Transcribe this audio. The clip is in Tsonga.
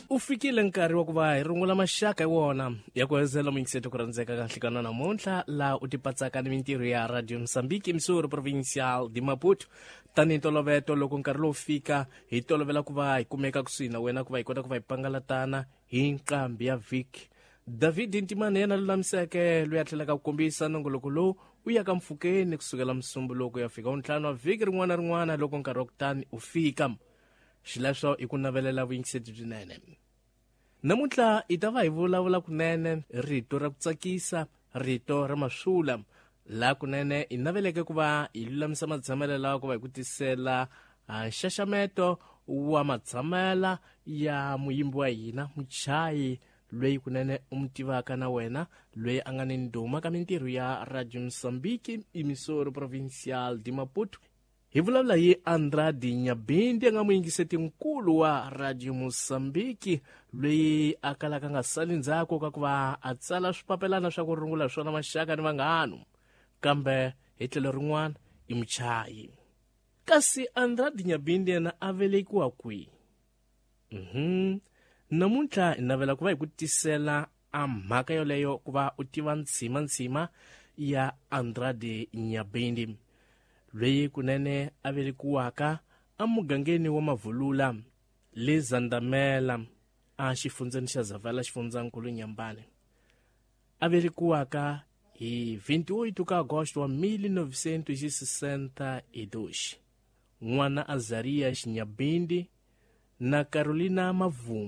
U fikile nkarhi wa ku va hi rungula maxaka hi wona ya ku hezela muyingiseti ku rhandzeka ka nhlikana namuntlha, laha u tipatsaka ni mintirho ya Radio Mozambique, Missouri Provincial de Maputo. Tanihi ntoloveto, loko nkarhi lowu fika, hi tolovela ku va hi kumeka kusuhi na wena ku va hi kota ku va hi pangalatana hi nqambi ya vhiki. David Ntimane yena lulamiseke loyi a tlhelaka ku kombisa nongoloko lowu u ya ka mpfhukeni kusukela musumbuluko ya fika wuntlhanu wa vhiki rin'wana na rin'wana loko nkarhi wa kutani u fika. Xileswo i ku navelela vuyingiseti byinene. Namuntlha hi ta va hi vulavula kunene rito ra ku tsakisa, rito ra maswula, laha kunene hi naveleke ku va hi lulamisa matshamelo lawa ku va hi ku tisela nxaxameto wa matshamela ya muyimbi wa hina, muchayi loyi kunene u mu tivaka na wena, loyi a nga ni ndhuma ka mintirho ya Radio Mozambique, Emissora Provincial de Maputo. Hi vulavula hi Andrade Nyabindi, a nga muyingiseti nkulu wa Radio Mozambique, loyi a kalaka nga sali ndzhaku ka ku va a tsala swipapelana swa ku rungula swona maxaka ni vanghano, kambe hi tlhelo rin'wana i muchayi. Kasi Andrade Nyabindi yena a velekiwa kwihi? Namuntlha hi navela ku va hi ku tisela a mhaka yoleyo ku va u tiva ntshima ya Andrade Nyabindi, loyi kunene a velekiwaka emugangeni wa Mavulula le Zandamela a xifundzeni xa Zavala, xifundzankulu Nyambane. A velekiwaka hi 28 ka Agosto wa 1962, n'wana Azaria Xinyabindi na Carolina Mavumi.